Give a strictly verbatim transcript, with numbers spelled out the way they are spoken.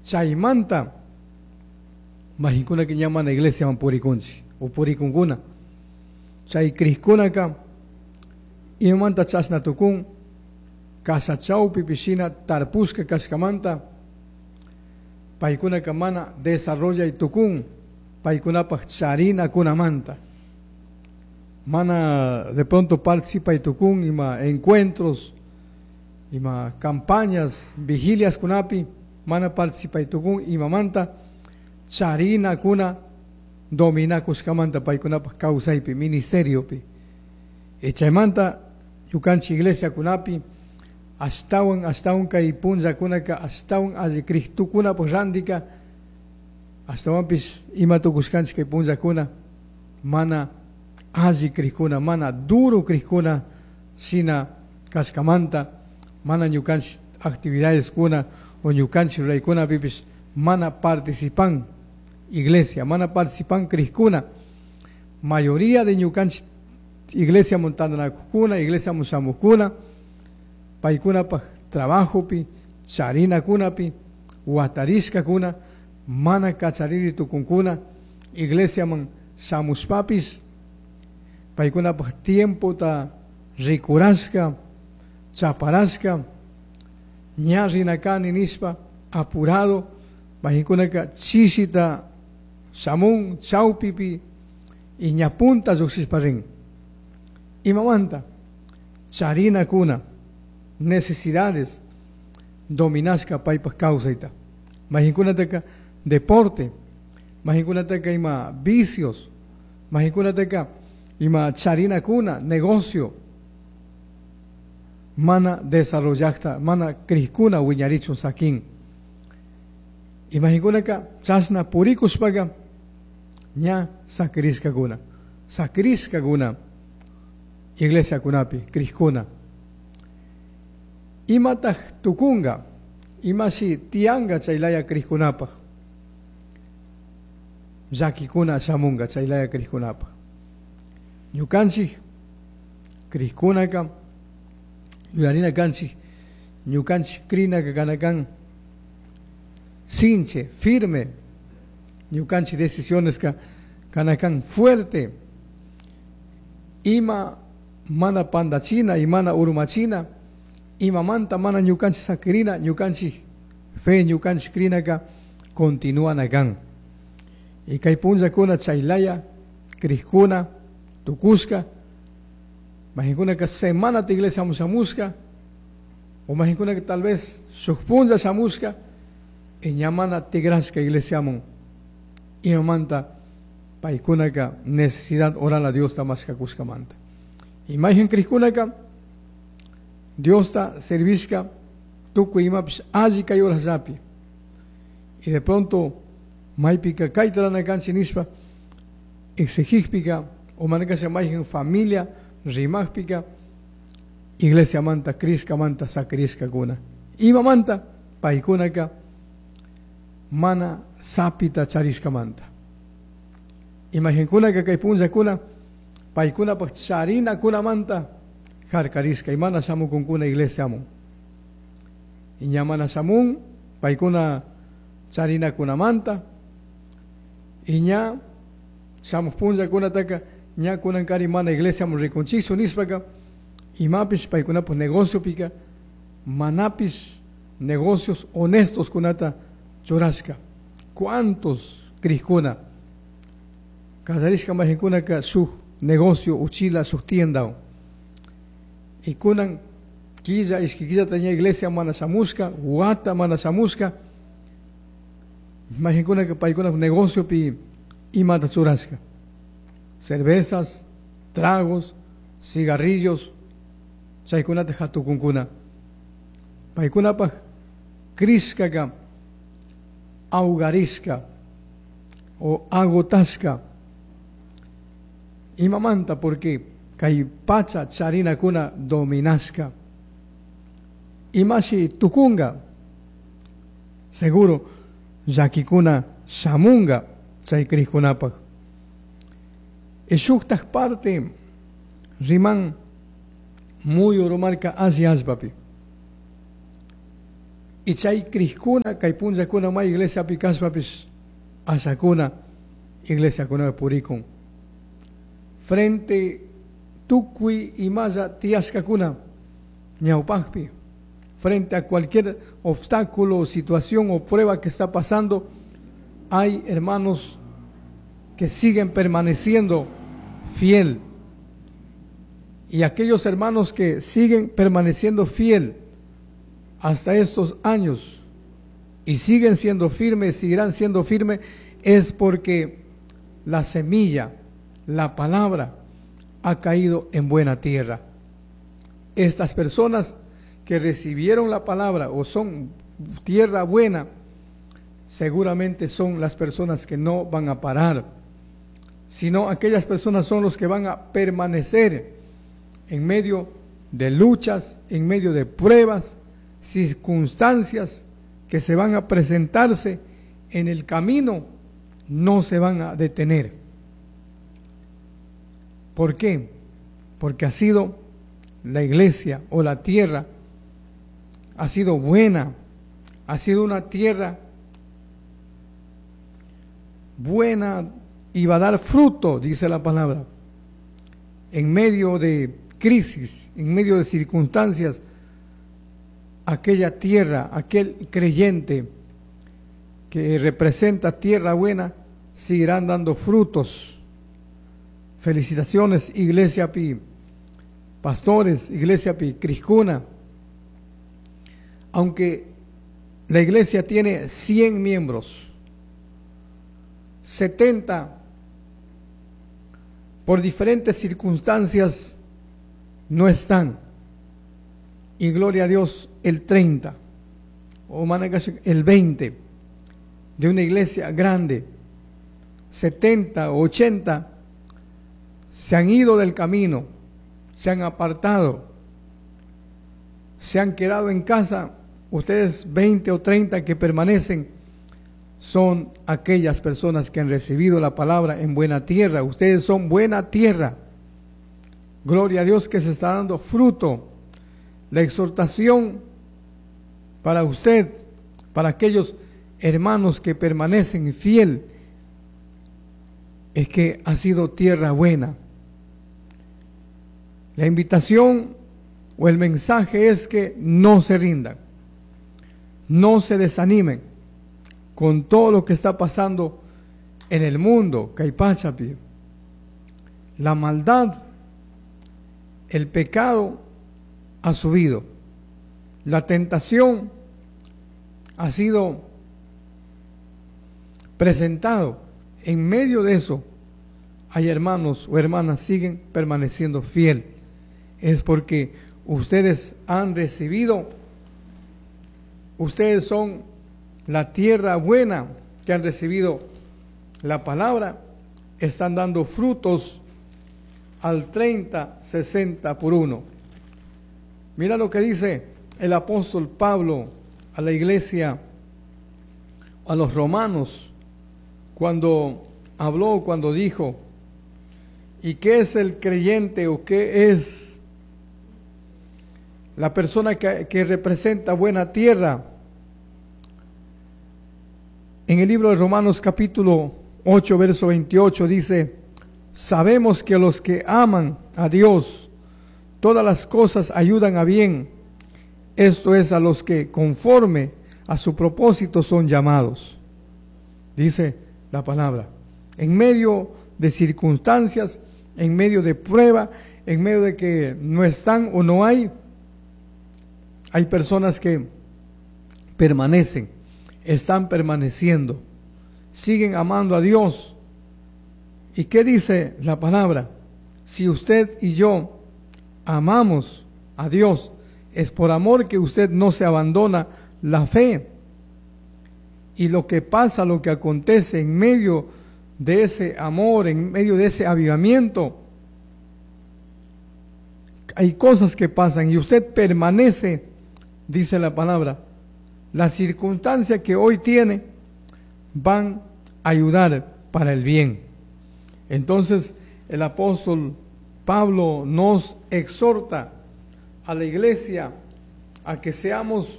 Chaymanta mayqinkunaka ña mana iglesiaman purikunchik o purikunkuna. Chay crijkunaka imamanta chashna tukun kasha chawpipi shina tarpushka kashkamanta paykunaka mana desarrollay tukun paykunapaj charinakunamanta. Mana de pronto participay tukun ima encuentros, ima campañas, vigilias kunapi, mana participay tukun imamanta charinakuna dominakushkamanta paykunapaj kawsaypi, ministeriopi. Y chaymanta ñukanchik iglesia kunapi ashtawan ashtawan kay punllakunaka ashtawan alli crishtukunapaj randika ashtawanpish ima tukushkanchik kay punllakuna mana alli crishkuna, mana duro crishkuna shina kashkamanta mana ñukanchik actividades kuna o ñukanchik ruraykunapipish mana participan iglesia, mana participan crishkuna. Mayoría de ñukanchik iglesia tantanakujkuna, iglesia shamujkuna, paykunapaj trabajopi, charinakunapi, watarishkakuna, mana kachariri tukunkuna, iglesiaman shamushpapis, paykunapaj tiempota rikurashka, chaparashka, ña rina kani nishpa, apurado, mayqinkunaka chishita shamun, chawpipi, y ña punta lluqshishpa rin. Imamanta charinakuna, necesidades dominashka paypaj kawsayta. Mayqinkunataka deporte, mayqinkunataka ima vicios, mayqinkunataka ima charinakuna, negocio, mana desarrollakta, mana crishkuna wiñarichun sakin. Y mayqinkunaka chashna purikushpaka ña sakirishkakuna, sakirishkakuna iglesia kunapi, crishkuna. Imataj tukunga, imashi tianga chaylaya crishkunapaj, llakikuna shamunga chaylaya crishkunapaj. Ñukanchik crishkunaka yuyarina kanchik, ñukanchik crinaka kanakan sinche, firme, ñukanchik decisiones ka kanakan fuerte, ima mana pandachina, imana urmachina, imamanta mana ñukanchik sakirina, ñukanchik fe, ñukanchik crinaka continúan kan. Y kay punllakuna chaylaya crishkuna tukushka, mayqinkunaka semanata iglesia shamushka, o mayqinkunaka tal vez shuk punlla shamushka, y ña mana tigrashka iglesiaman, imamanta paykunaka necesidad oral a Diosta mashkakushkamanta. Y mayqin crishkunaka Diosta servishka tukuy imapish alli kay horasllapi. Y de pronto maypika kayta rurana kanchik nishpa exigijpika o manakasha mayqin familia rimajpika iglesiamanta crishkamanta sakirishkakuna. Imamanta paykunaka mana sapita charishkamanta. Mayqinkunaka kay punllakuna paykunapaj charinakunamanta harkarishka y mana shamukunkuna iglesiaman. Y ña mana shamun paykuna charinakunamanta y ña shamuj punllakunataka ña kunankari mana iglesiaman rikunchikchu nishpaka imapish paykunapaj negociopika manapish negocios honestos kunata churashka. ¿Cuántos crishkuna kallarishka mayqinkunaka shuk negocio uchila shuk tienda y kunan killa ishki killata ña iglesia mana shamushka, wata mana shamushka, mayqinkunaka paykunapaj negociopi imata churashka, cervezas, tragos, cigarrillos, chaykunata hatukunkuna. Paykunapaj crishkaka ahogarishka o agotashka. Imamanta porque kay pacha charinakuna dominashka. Imashi tukunga, seguro llakikuna shamunga chay crishkunapaj. Y shuktaj parte riman muyu rumarka alli allpapi. Y chay crijkuna kay punllakuna may iglesiapi kashpapish ashakuna iglesiakunapi purikun. Frente tukuy imalla tiyashkakuna ñawpakpi, frente a cualquier obstáculo, situación o prueba que está pasando, hay hermanos que siguen permaneciendo fiel. Y aquellos hermanos que siguen permaneciendo fiel hasta estos años y siguen siendo firmes, seguirán siendo firmes, es porque la semilla, la palabra, ha caído en buena tierra. Estas personas que recibieron la palabra o son tierra buena, seguramente son las personas que no van a parar, sino aquellas personas son los que van a permanecer en medio de luchas, en medio de pruebas, circunstancias que se van a presentarse en el camino, no se van a detener. ¿Por qué? Porque ha sido la iglesia o la tierra, ha sido buena, ha sido una tierra buena y va a dar fruto, dice la palabra. En medio de crisis, en medio de circunstancias, aquella tierra, aquel creyente que representa tierra buena, seguirán dando frutos. Felicitaciones, Iglesia Pi, pastores, Iglesia Pi, crijkuna. Aunque la iglesia tiene cien miembros, setenta por diferentes circunstancias no están. Y gloria a Dios, el treinta, o el veinte, de una iglesia grande, setenta o ochenta, se han ido del camino, se han apartado, se han quedado en casa. Ustedes veinte o treinta que permanecen son aquellas personas que han recibido la palabra en buena tierra. Ustedes son buena tierra. Gloria a Dios que se está dando fruto. La exhortación para usted, para aquellos hermanos que permanecen fiel, es que ha sido tierra buena. La invitación o el mensaje es que no se rindan, no se desanimen con todo lo que está pasando en el mundo, kay pachapi. La maldad, el pecado ha subido, la tentación ha sido presentado. En medio de eso, hay hermanos o hermanas siguen permaneciendo fiel. Es porque ustedes han recibido, ustedes son la tierra buena que han recibido la palabra, están dando frutos al treinta, sesenta por uno. Mira lo que dice el apóstol Pablo a la iglesia, a los romanos, cuando habló, cuando dijo, ¿y qué es el creyente o qué es la persona que, que representa buena tierra? En el libro de Romanos capítulo ocho, verso veintiocho dice, sabemos que los que aman a Dios, todas las cosas ayudan a bien, esto es a los que conforme a su propósito son llamados. Dice la palabra, en medio de circunstancias, en medio de prueba, en medio de que no están o no hay, hay personas que permanecen, están permaneciendo, siguen amando a Dios. ¿Y qué dice la palabra? Si usted y yo amamos a Dios, es por amor que usted no se abandona la fe. Y lo que pasa, lo que acontece en medio de ese amor, en medio de ese avivamiento, hay cosas que pasan y usted permanece, dice la palabra. La circunstancia que hoy tiene van a ayudar para el bien. Entonces el apóstol Pablo nos exhorta a la iglesia a que seamos